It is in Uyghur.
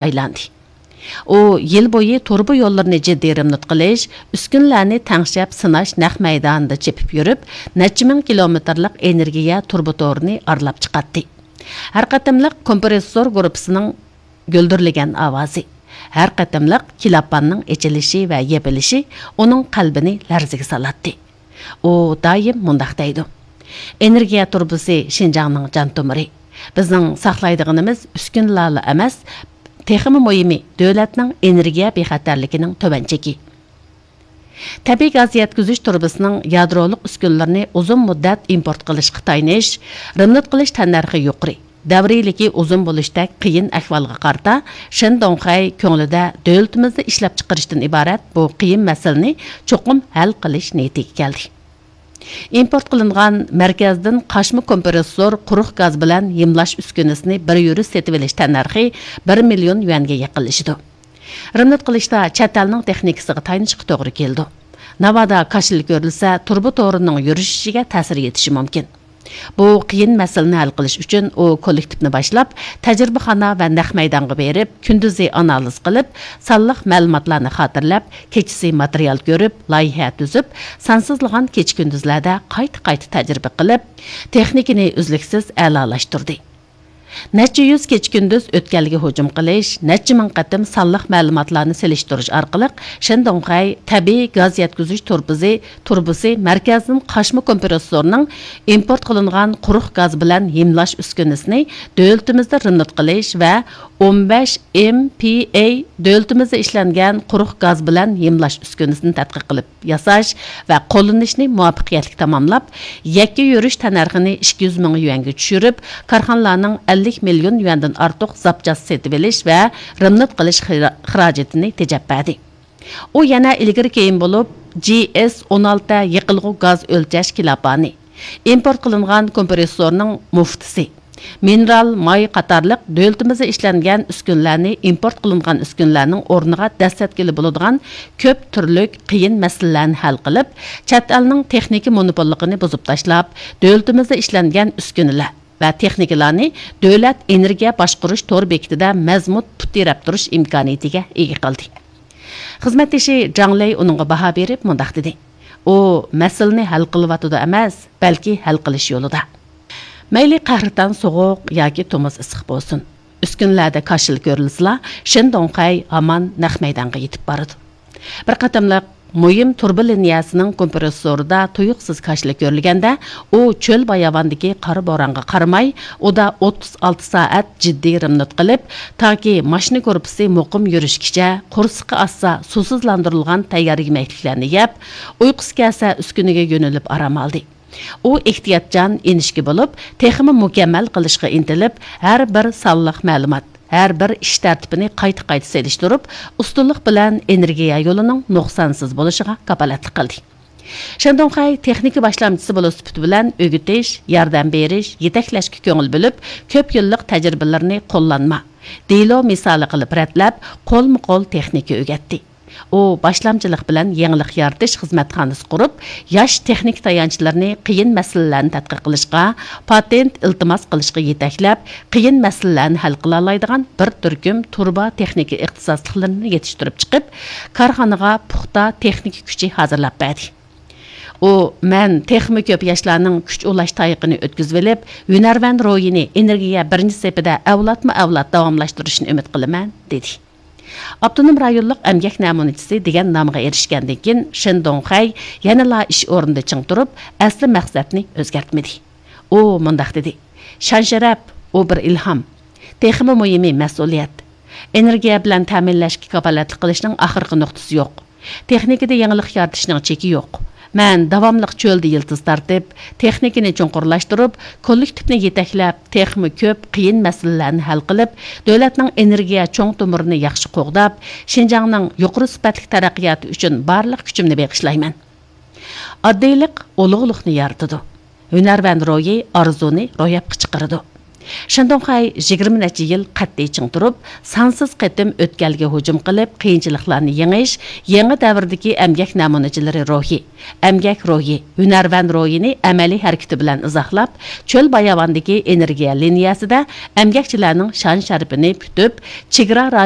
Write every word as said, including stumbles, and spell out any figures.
ئايلاندى. ئۇ يىل بويى تۇرۇبا يوللىرىنى جىددىي رېمونت قىلىش، ئۈسكۈنىلەرنى تەڭشەپ سىناش نەق مەيدانىدا چېپىپ يۈرۈپ، نەچچە مىڭ كىلومېتىرلىق ئېنېرگىيە تۇرۇبا تورىنى ئارىلاپ چىقاتتى. ھەر قېتىملىق كومپرېسسور گۇرۇپپىسىنىڭ گۈلدۈرلىگەن ئاۋازى، ھەر قېتىملىق كىلاپاننىڭ ئېچىلىشى ۋە يېپىلىشى ئۇنىڭ قەلبىنى لەرزىگە سالاتتى. ئۇ دائىم مۇنداق دەيدۇ: «ئېنېرگىيە تۇرۇبىسى شىنجاڭنىڭ جان تومۇرى. بىزنىڭ ساقلايدىغىنىمىز ئۈسكۈنىلەرلا ئەمەس، تېخىمۇ مۇھىمى، دۆلەتنىڭ ئېنېرگىيە بىخەتەرلىكىنىڭ تۆۋەن چېكى.» تەبىئىي گاز يەتكۈزۈش تۇرۇبىسىنىڭ يادرولۇق ئۈسكۈنىلىرىنى ئۇزۇن مۇددەت ئىمپورت قىلىشقا تايىنىش، رېمونت قىلىش تەننەرخى يۇقىرى، دەۋرىيلىكى ئۇزۇن بولۇشتەك قىيىن ئەھۋالغا قارىتا، شېن دۇڭخەي كۆڭلىدە دۆلىتىمىزدە ئىشلەپچىقىرىشتىن ئىبارەت بۇ قىيىن مەسىلىنى چوقۇم ھەل قىلىش نىيىتىگە كەلدى. ئىمپورت قىلىنغان مەركەزدىن قاچما كومپرېسسور قۇرۇق گاز بىلەن ھىملاش ئۈسكۈنىسىنى بىر يۈرۈش سېتىۋېلىش تەننەرخى بىر مىليون يۈەنگە يېقىنلىشىدۇ. رېمونت قىلىشتا چەت ئەلنىڭ تېخنىكىسىغا تايىنىشقا توغرا كېلىدۇ. ناۋادا كاشىلا كۆرۈلسە، تۇرۇبا تورىنىڭ يۈرۈشۈشىگە تەسىر يېتىشى مۇمكىن. بۇ قىيىن مەسىلىنى ھەل قىلىش ئۈچۈن ئۇ كوللېكتىپنى باشلاپ، تەجرىبىخانا ۋە نەق مەيدانغا بېرىپ، كۈندۈزى ئانالىز قىلىپ، سانلىق مەلۇماتلارنى خاتىرىلەپ، كېچىسى ماتېرىيال كۆرۈپ، لايىھە تۈزۈپ، سانسىزلىغان كېچە-كۈندۈزلەردە قايتا-قايتا تەجرىبە قىلىپ، تېخنىكىنى ئۈزلۈكسىز ئەلالاشتۇردى. نەچچە يۈز كېچە-كۈندۈز ئۆتكەلگە ھۇجۇم قىلىش، نەچچە مىڭ قېتىم سانلىق مەلۇماتلارنى سېلىشتۇرۇش ئارقىلىق، شېن دۇڭخەي تەبىئىي گاز يەتكۈزۈش تۇرۇبىسى، تۇرۇبىسى مەركەزدىن قاچما كومپرېسسورنىڭ ئىمپورت قىلىنغان قۇرۇق گاز بىلەن ھىملاش ئۈسكۈنىسىنى دۆلىتىمىزدە رېمونت قىلىش ۋە ئون بەش ئېم پى ئەي دۆلىتىمىزدە ئىشلەنگەن قۇرۇق گاز بىلەن ھىملاش ئۈسكۈنىسىنى تەتقىق قىلىپ ياساش ۋە قوللىنىشنى مۇۋەپپەقىيەتلىك تاماملاپ، يەككە يۈرۈش تەننەرخىنى ئىككى يۈز مىڭ يۈەنگە چۈشۈرۈپ، كارخانىلارنىڭ ئەللىك مىليون يۈەندىن ئارتۇق زاپچاس سېتىۋېلىش ۋە رېمونت قىلىش خىرا-، خىراجىتىنى تېجەپ بەردى. ئۇ يەنە ئىلگىرى كېيىن بولۇپ، جى ئېس ئون ئالتە يېقىلغۇ گاز ئۆلچەش كىلاپانى، ئىمپورت قىلىنغان كومپرېسسورنىڭ مۇفتىسى، مىنېرال ماي قاتارلىق دۆلىتىمىزدە ئىشلەنگەن ئۈسكۈنىلەرنى ئىمپورت قىلىنغان ئۈسكۈنىلەرنىڭ ئورنىغا دەسسەتكىلى بولىدىغان كۆپ تۈرلۈك قىيىن مەسىلىلەرنى ھەل قىلىپ، چەت ئەلنىڭ تېخنىكا مونوپوللۇقىنى بۇزۇپ تاشلاپ، دۆلىتىمىزدە ئىشلەنگەن ئۈسكۈنىلەر ۋە تېخنىكىلارنى دۆلەت ئېنېرگىيە باشقۇرۇش تور بېكىتىدە مەزمۇت پۇت تىرەپ تۇرۇش ئىمكانىيىتىگە ئىگە قىلدى. خىزمەتدىشى جاڭ لېي ئۇنىڭغا باھا بېرىپ مۇنداق دېدى: «ئۇ مەسىلىنى ھەل قىلىۋاتىدۇ ئەمەس، بەلكى ھەل قىلىش يولىدا.» مەيلى قەھرىتان سوغۇق ياكى تومۇز ئىسسىق بولسۇن، ئۈسكۈنىلەردە كاشىلا كۆرۈلسىلا، شېن دۇڭخەي ھامان نەق مەيدانغا يېتىپ بارىدۇ. بىر قېتىملىق مۇھىم تۇرۇبا لىنىيەسىنىڭ كومپرېسسورىدا تۇيۇقسىز كاشىلا كۆرۈلگەندە، ئۇ چۆل باياۋاندىكى قارا بورانغا قارىماي، ئۇدا ئوتتۇز ئالتە سائەت جىددىي رېمونت قىلىپ، تاكى ماشىنا گۇرۇپپىسى مۇقىم يۈرۈشكىچە، قورسىقى ئاچسا سۇسىزلاندۇرۇلغان تەييار يېمەكلىكلەرنى يەپ، ئۇيقۇسى كەلسە ئۈسكۈنىگە يۆلىنىپ ئارام ئالدى. ئۇ ئېھتىياتچان، ئىنچىكە بولۇپ، تېخىمۇ مۇكەممەل قىلىشقا ئىنتىلىپ، ھەر بىر سانلىق مەلۇمات، ھەر بىر ئىش تەرتىپىنى قايتا-قايتا سېلىشتۇرۇپ، ئۇستىلىق بىلەن ئېنېرگىيە يولىنىڭ نۇقسانسىز بولۇشىغا كاپالەتلىك قىلدى. شېن دۇڭخەي تېخنىكا باشلامچىسى بولۇش سۈپىتى بىلەن ئۆگىتىش، ياردەم بېرىش، يېتەكلەشكە كۆڭۈل بۆلۈپ، كۆپ يىللىق تەجرىبىلىرىنى قوللانما، دېلو مىسالى قىلىپ رەتلەپ، قولمۇ قول تېخنىكا ئۆگەتتى. ئۇ باشلامچىلىق بىلەن يېڭىلىق يارىتىش خىزمەتخانىسى قۇرۇپ، ياش تېخنىك تايانچلىرىنى قىيىن مەسىلىلەرنى تەتقىق قىلىشقا، پاتېنت ئىلتىماس قىلىشقا يېتەكلەپ، قىيىن مەسىلىلەرنى ھەل قىلالايدىغان بىر تۈركۈم تۇرۇبا تېخنىكا ئىختىساسلىقلىرىنى يېتىشتۈرۈپ چىقىپ، كارخانىغا پۇختا تېخنىكا كۈچى ھازىرلاپ بەردى. ئۇ، مەن تېخىمۇ كۆپ ياشلارنىڭ كۈچ ئۇلاش تايىقىنى ئۆتكۈزۈۋېلىپ، ھۈنەرۋەن روھىنى ئېنېرگىيە بىرىنچى سېپىدە ئەۋلادمۇ ئەۋلاد داۋاملاشتۇرۇشىنى ئۈمىد قىلىمەن، دېدى. ئاپتونوم رايونلۇق ئەمگەك نەمۇنىچىسى دېگەن نامغا ئېرىشكەندىن كېيىن، شېن دۇڭخەي يەنىلا ئىش ئورنىدا چىڭ تۇرۇپ، ئەسلى مەقسەتنى ئۆزگەرتمىدى. ئۇ مۇنداق دېدى: «شان-شەرەپ، ئۇ بىر ئىلھام. تېخىمۇ مۇھىمى، مەسئۇلىيەت. ئېنېرگىيە بىلەن تەمىنلەشكە كاپالەتلىك قىلىشنىڭ ئاخىرقى نۇقتىسى يوق. تېخنىكىدا يېڭىلىق يارىتىشنىڭ چېكى يوق. مەن داۋاملىق چۆلدە يىلتىز تارتىپ، تېخنىكىنى چوڭقۇرلاشتۇرۇپ، كوللېكتىپنى يېتەكلەپ، تېخىمۇ كۆپ قىيىن مەسىلىلەرنى ھەل قىلىپ، دۆلەتنىڭ ئېنېرگىيە چوڭ تومۇرىنى ياخشى قوغداپ، شىنجاڭنىڭ يۇقىرى سۈپەتلىك تەرەققىياتى ئۈچۈن بارلىق كۈچۈمنى بېغىشلايمەن.» ئاددىيلىق ئۇلۇغلۇقنى يارىتىدۇ. ھۈنەرۋەن روھى ئارزۇنى روياپقا چىقىرىدۇ. شېندۇڭخەي يىگىرمە نەچچە يىل قەتئىي چىڭ تۇرۇپ، سانسىز قېتىم ئۆتكەلگە ھۇجۇم قىلىپ، قىيىنچىلىقلارنى يېڭىش، يېڭى دەۋردىكى ئەمگەك نەمۇنىچىلىرى روھى، ئەمگەك روھى، ھۈنەرۋەن روھىنى ئەمەلىي ھەرىكىتى بىلەن ئىزاھلاپ، چۆل باياۋاندىكى ئېنېرگىيە لىنىيەسىدە ئەمگەكچىلەرنىڭ شان-شەرىپىنى پۈتۈپ، چېگرا رايونى